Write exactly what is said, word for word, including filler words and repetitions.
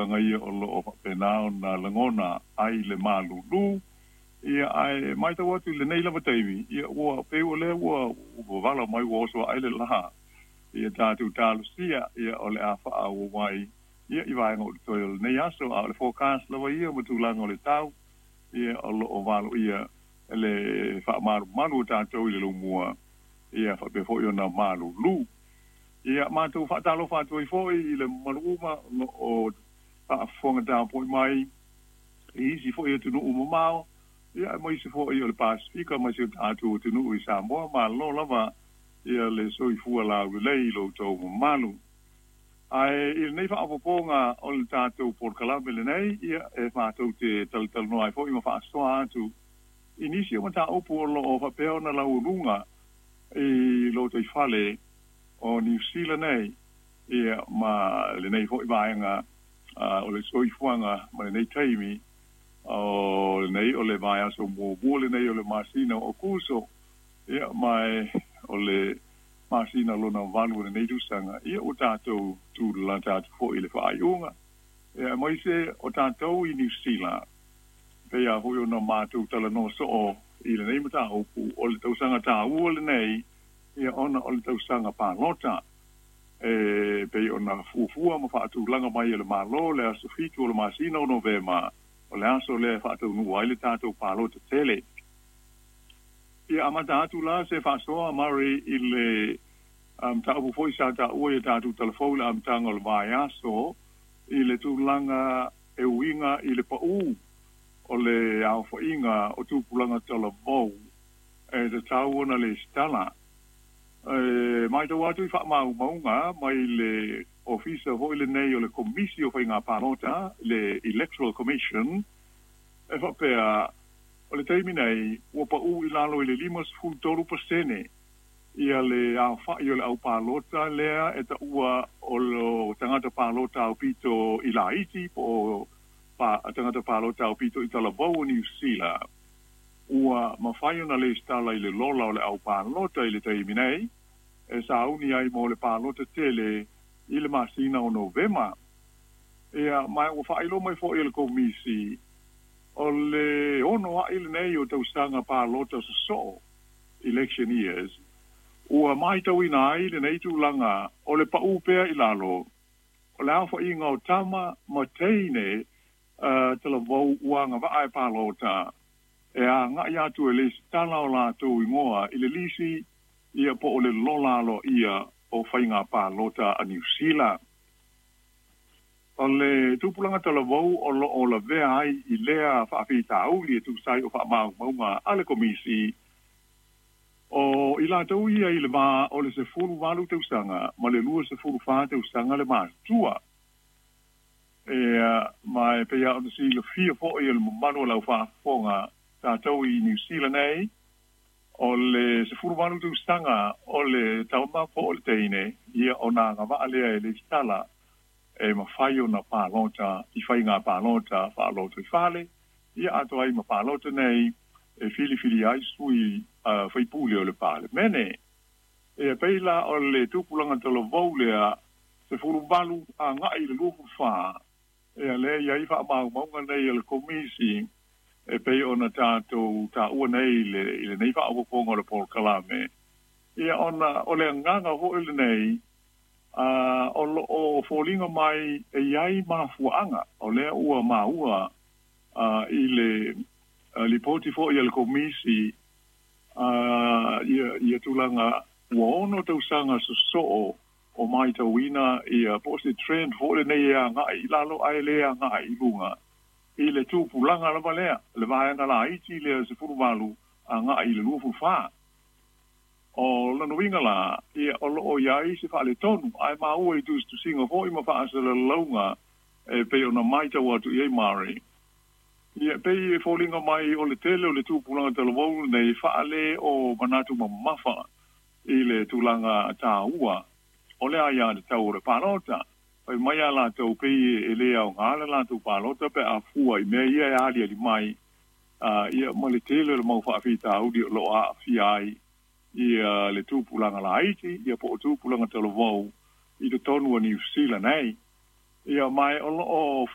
tulaga ia o loo faapena ona lagona ai le malulu. Ia ae matau atu i lenei lava taimi, ia ua pei o lea ua vala mai, ua oso ae le lā. Ia tatou talosia ia o le a faaauau ai ia i vaega o totoe o lenei aso, a o le forecast lava ia ma tulaga o le tau, ia o loo valoia le faamalumalu o tatou i le laumua, ia faapea foi ona malulu. Ia matou faatalofa atu ai foi i le mamalu uma o faafofoga tapuai mai i isi foi atunuu mamao, ia ma isi foi o le Pasefika ma si o tatou atunuu i Samoa. Malo lava ia le soifua laulelei i lo outou mamalu. Ae i lenei faaopoopoga o le tatou polokalame lenei, ia e matou te talatalanoa ai foi ma faasoa atu i nisi o mataupu o loo faapea ona laualuga i lotoifale o Niu Sila nei, ia ma lenei foi vaega o le soifuaga ma lenei taimi o lenei o le vaiaso muamua lenei o le masina o Aokuso, ia ma o le masina lona valu o lenei tausaga, ia ua tatou tulalata atu foi i le faaiuga. Ia aemaise o tatou i Niu Sila, pei lava foi ona matou talanoa soo i lenei mataupu, o le tausaga taua lenei, ia ona o le tausaga palota e pei ona fuafua ma faatulaga mai e le Malo le aso fitu o le masina o Novema, o le aso lea e faataunuu ai le tatou palota tele. Ia amata atu la se faasoa, Murray, i le mataupu foi sa taua ia tatou talafou i le amataga o le vaiaso i le tulaga e uiga i le pau o le aofaiga o tupulaga talavou e tatau ona lesitala. E matau atu i faamaumauga mai le ofisa foi lenei o le Komisi o Faiga Palota, le Electoral Commission, e faapea o le taimi nei ua pau i lalo i le limasefulu tolu pasene ia le aofai o le aupalota lea e taua o le tagata palota aupito i laiti po o pa, tagata palota aupito i talavou o Niu Sila ua mafai ona lesitala i le lola o le aupalota i le taimi nei e sauni ai mo le palota tele i le masina o Novema. Ia ma ua faailoa mai foi e le Komisi o le ono ai lenei o tausaga palota sosoo, election years, ua matauina ai lenei tulaga o le pau pea i lalo o le aofaiga o tama ma teine uh, talavou ua agavaa e palota e agai atu e lesitala o latou igoa i le lisi, ia po o le lola aloaia o faiga palota a Niu Sila. O le tupulaga talavou o loo lavea ai i lea faafitauli e tusa ai o faamaumauga a le Komisi, o i latou ia i le va o le sefulu valu tausaga ma le lua sefulu fa tausaga le matutua. E ma e pei ona silafia foi e le mamalu o lau faafofoga tatou i Niu Sila nei, o le sefulu valu tausaga o le tama po o le teine, ia ona agavaa lea e lesitala e mafai ona palota i faiga palota faalotoifale, ia atoa ai ma palota nei e filifili ai sui uh, faipule o le Palemene. E pei la o le tupulaga talavou lea sefulu valu agai i le luafulu fa, e lea i ai faamaumauga nei a le Komisi e pei ona tatou taua nei i le, i lenei faaopoopoga o le polokalame. Ia ona o le agaga foi lenei uh, o loo foliga mai e iai mafuaaga o lea ua maua uh, i le uh, lipoti foi a le Komisi uh, ia, ia tulaga ua ono tausaga sosoo o matauina ia po o se trend foi lenei e agai i lalo ae le agai i luga i le tupulaga lava lea, le vaega laiti lea sefulu valu agai i le luafulu fa. O lona uiga la, ia o loo iai se faaletonu, ae maua i tusitusiga foi ma faasalalauga e pei ona matau atu i ai Murray. Ia pei e foliga mai o le tele o le tupulaga talavou lenei faale o manatu mamafa i le tulaga taua o le aiatatau o le palota. Fai mai a latou pei e le aoga le latou palota pe a fua i mea ia e aliali mai, uh, ia ma le tele o le mau faafitauli o loo aafia ai ia le tupulaga laiti, ia po o tupulaga talavou i totonu o Niu Sila nei. Ia mai o loo